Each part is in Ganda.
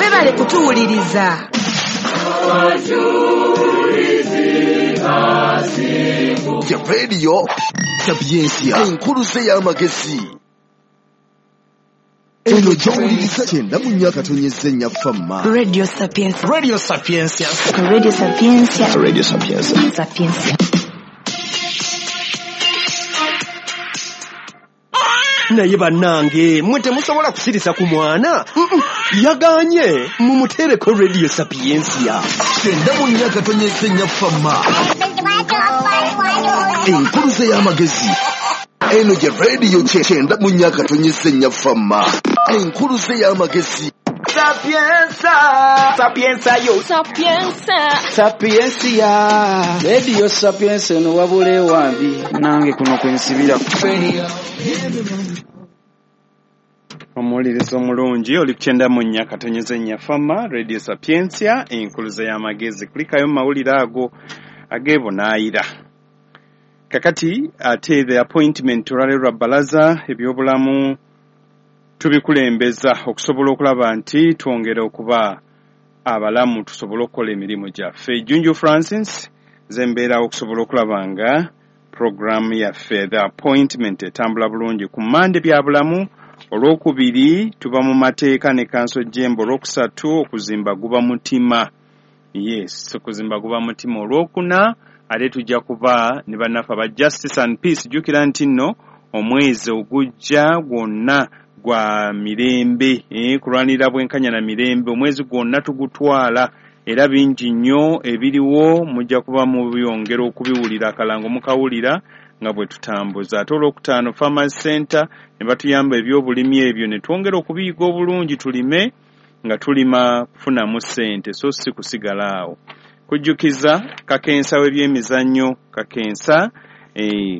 Webale kutuwuliriza. Ya Radio Sapientia, enkuluze y'amagezi. Eno gy'owuliriza 94.4 Fama. Radio Sapientia. Radio Sapientia. Radio Sapientia. Radio Sapientia. Sapientia. Naye bannange mwe temusobola kusirisa ku mwana. Yaganye mumuteereko Radio Sapientia. 94.4 Fama. Enkuluze y'amagezi. Eno gye Radio 94.4 Fama. Enkuluze y'amagezi. Sapienza, sapienza yo, Sapienza. Sapiensia. Radio Sapienza eno wabula ewambi nange kuno kwensibira. Omuwuliriza omulungi oli ku 94.4 Fama Radio Sapientia, enkuluze y'amagezi. Kulikayo mu mawulire ago ag'ebunaayira. Kakati ate the appointment olwaleero lwa bbalaza, ebyobulamu tubikulembeza okusobola okulaba nti twongera okuba abalamu tusobole okukola emirimu gyaffe. Junju Francis zembeerawo okusobola okulaba nga programu yaffe the appointment etambula bulungi. Ku Mmande bya bulamu, olwokubiri tuba mu mateeka ne Kanso Jemba, olwokusatu okuzimba guba mutima. Yes, okuzimba guba mutima. Olwokuna ate tujja kuba ne bannaffe aba Justice and Peace. Jjukira nti nno omwezi ogujja gwonna gwa mirembe, kulwanirira bwenkanya na mirembe. Omwezi gwonna tugutwala era bingi nnyo ebiriwo, mujja kuba mubyongera okubiwulira, akalango mukawulira nga bwe tutambuza. Ate olwokutaano Farmers Center ne batuyamba ebyobulimi ebyo ne twongera okubiyiga obulungi, tulime nga tulima kufunamu ssente so si kusigala awo. Kujjukiza kakensa w'ebyemizannyo, kakensa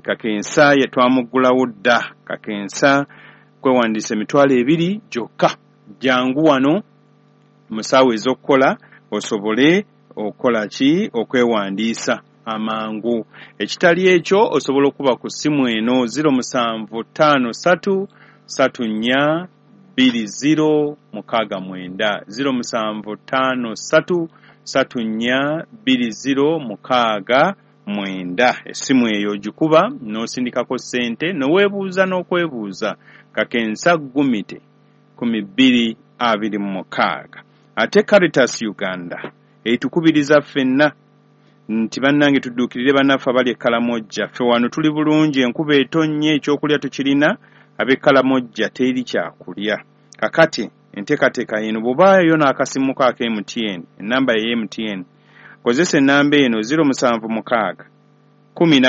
kakensa ye twamuggulawo dda. Kakensa kwewandiisa 20,000 gyokka. Jangu wano mu ssaawa ez'okukola osobole okukola ki, okwewandiisa amangu. Ekitali ekyo osobola okuba ku ssimu eno 0753 34 20 69, 0753 34 20 69. Essimu eyo ogikuba n'osindikako ssente n'oweebuuza n'okwebuuza. Kakensa Gumite 1226. Ate Caritas Uganda etukubiriza ffenna nti bannange tudduukirire bannaffe abali e Kalamojja. Ffe wano tuli bulungi, enkuba etonnye, ekyokulya tukirina, ab'e Kalamojja teri kyakulya. Kakati enteekateeka eno bw'obaayo n'akasimu ko aka MTN, ennamba ye MTN, kozesa ennamba eno 076 12